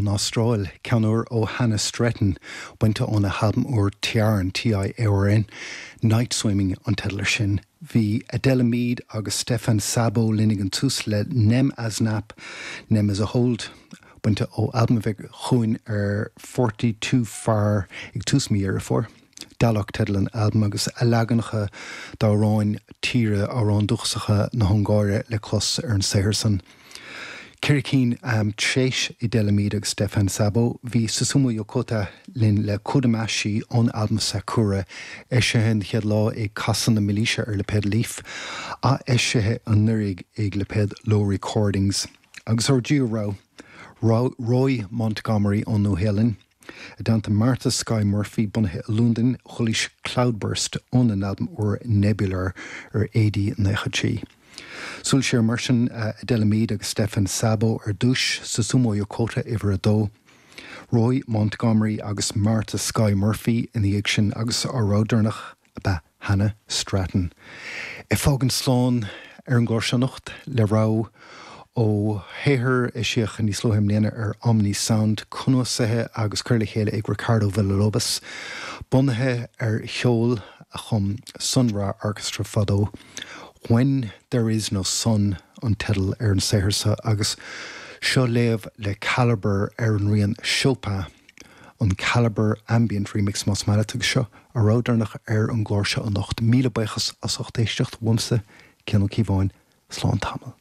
ón Astráil, ceann úr ó Hannah Stratton, bainte óna halbam úr Tiarn, T-I-A-R-N, Night Swimming an teideal air sin. Bhí Adela Mead agus Stefan Szabo linn ag an tús le Nem Az Nap, Nem Az a Hold, bainte ó albam a bheidh chugainn ar 42 Far ag tús mí Dheireadh Fómhair. Dalok teideal an albaim agus a leaganacha d'amhráin tíre, amhráin dúchasacha na hUngáire le clos ar an saothar san. Ceithre cinn tréis Adela Mead agus Stefan Szabo, bhí Susumu Yokota linn le Kodamashi ón albam Sakura, eisithe an chéad lá ag Casadh na Mílaoise ar lipéad Leaf, ath-eisithe anuraidh ag lipéad Low Recordings. Agus ár dtríú rogha, Roy Montgomery ón Nua-Shéalainn. I dteannta Martha Skye Murphy, bunaithe i Londain, chualaís Cloudburst óna n-albam úr Nebular ar AD 93. Súil siar mar sin, Adela Mead agus Stefan Szabo ar dtús, Susumu Yokota uimhir a dó, Roy Montgomery agus Martha Skye Murphy ina dhiaidh sin agus ár rogha deireanach, ab ea Hannah Stratton. Ag fágaint slán ar an gclár seo anocht le rogha ó shaothar a eisíodh níos luaithe i mbliana ar Omni Sound, cnuasaithe agus curtha le chéile ag Ricardo Villalobos, bunaithe ar cheol a chum Sun Ra Orchestra fadó. When There Is No Sun an teideal ar an saothar seo agus seo léamh le Calibre ar an rian Chopin. an Calibre Ambient Remix más maith leat agus seo ár rogha deireanach ar an gclár seo anocht. Míle buíochas as ucht éisteacht uaimse, Cian Ó Cíobháin, slán tamall.